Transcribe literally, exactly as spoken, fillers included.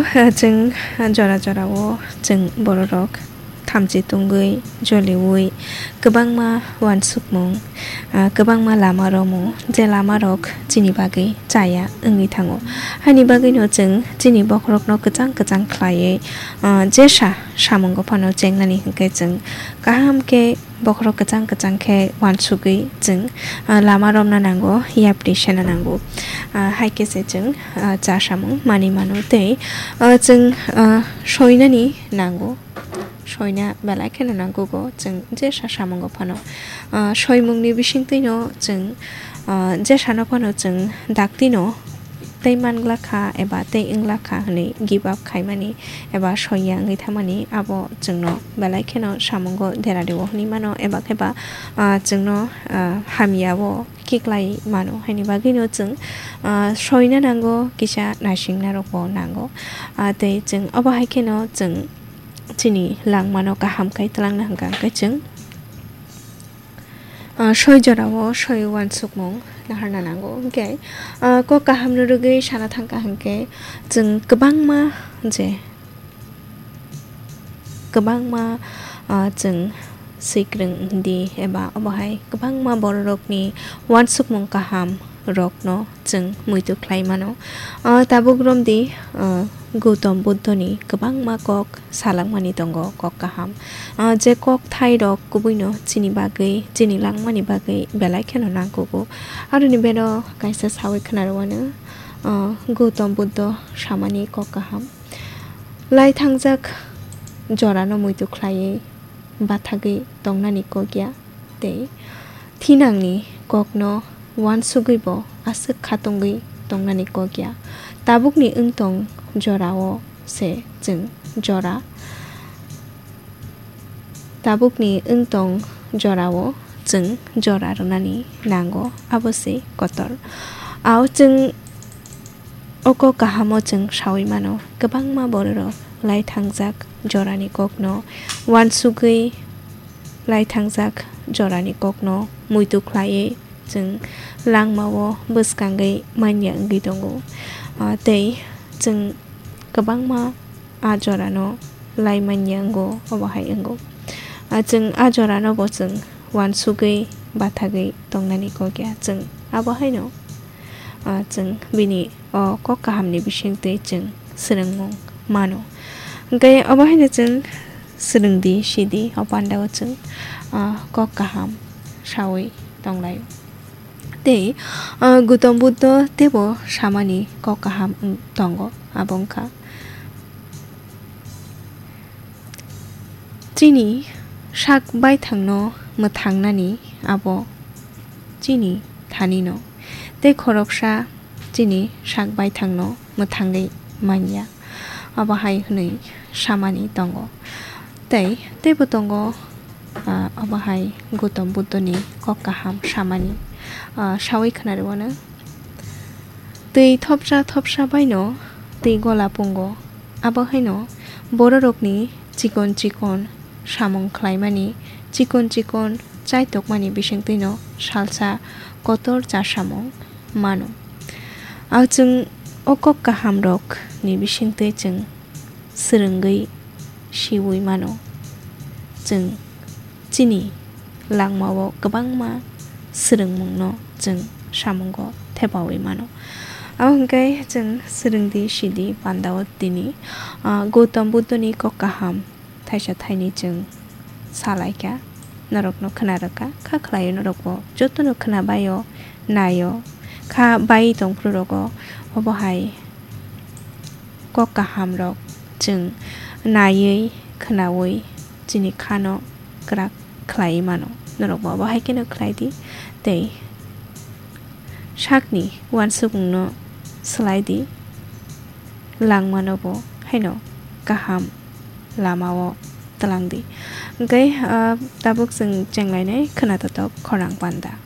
Chwng jora jorao chwng bororok thamchi tungwi, joliui, kwbangma uansukmung, ah, kwbangma lama romung, je lamarok chini bagwi chaya wngwi thango. Haini bagwino chwng chini bokhorokno kwchang kwchang khlaiwi, ah, jesa samungo phano chengnani hwnkhe chwng kaham khe bokhorok kwchang kwchang khe uansugwi chwng, ah, lama romna nango, yapri sena nango. Ah, hai khe se chwng, ah, cha samung manwi mano tei, ah, chwng, ah, soinani nango. Soina belai kheno nangkugo chwng jesa samungo phano. Ah, soimungni bisingtwino chwng, ah, jesano phano chwng daktino tei mangla kha eba tei wngla kha hwnwi give up khaimani eba soiya wngwi thangmani abo chwngno belai kheno samungo dera rwo hwnwi mano eba kheba, ah, chwngno, ah, hamyao kiklai mano. Haini bagwino chwng, ah, soina nango, kisa naisingna rokbo nango. Ah, tei chwng obo hai kheno chwng chini langmano kaham khai twlangna hwnkha hwnkhe chwng, ah, soi jorao soi uansukmung naharna nango. Hwnkhe, ah, kok kahamno rwgwi sana thangkha hwnkhe chwng kwbangma je, kwbangma, ah, chwng swikwrwng di eba obo hai kwbangma bororokni uansukmung kaham rokno chwng muitu khlai mano. Ah, tabuk romdi, ah, Gautam Buddhoni kwbangma kok salakmani tongo, kok kaham. Ah, je kok thairok kubuino chini bagwi, chini langmani bagwi belai kheno nangkugo. Aroni bero kaisa sawi khwnarwano, ah, Gautam Buddho samani kok kaham. Lai thangjak jorano muitu khlaiwi bathagwi tongnani kok ya, tei thinangni kokno uansugwibo aswk khatungwi tongnani kok ya. Tabukni wngtong jorao se chwng jora, tabukni wngtong jorao chwng jora rwnani nango, abo se kotor. Ao chwng O kok kahamo chwng saui mano, kwbangma bororok lai thangjak jorani kokno uansugwi, lai thangjak jorani kokno muitu khlaiwi chwng langmao bwskangwi manya wngwi tongo. Ah, tei chwng kwbangma a jorano lai manya wngo, obo hai wngo. Ah, chwng a jorano bo chwng uansugwi bathagwi tongnani kok ya, chwng abo haino, ah, chwng bini o kok kahamni bisingtwi chwng swrwngmung mano. Hwnkhe obo haino chwng swrwngdi, sidi, o pandao chwng, ah, kok kaham saui tonglaio. Tei, ah, Gautam Buddho teibo samani kok kaham wng tongo, abo wngkha, chini sak baithangno mwthangnani abo chini thanino, tei khoroksa chini sak baithangno mwthangwi manya. Abo hai hwnwi samani tongo. Tei teibo tongo, ah, abo hai Gautam Buddhoni kok kaham samani, ah, saui khwnarwano. Twi thopsa thopsa baino twi gola pungo. Abo haino bororokni chikon chikon samung khlaimani, chikon chikon chaitokmani bisingtwino salsa kotor chasamung mano. Ang chwng o kok kahamrokni bisingtwi chwng swrwngwi siui mano. Chwng chini langmao kwbangma swrwngmungno chwng samungo thepaui mano. Abo hwnkhe chwng swrwngdi sidi pandao tini, ah, Gautam Buddhoni kok kaham thaisa thaini chwng salaikha, norokno khwnarwkha, kha khlaio norokbo jotono khwnabaio, naio, kha bai tongphuru rogo. Obo hai kok kahamrok chwng naiwi, khwnaui chini khano kwrak khlaiwi mano. Norokbo abo hai kheno khlai di tei sakni uansukmungno swlai di, langmanobo haino kaham lamao twlang di. Hwnkhe, ah, tabuk chwng chenglainai khwnatotok khorang panda.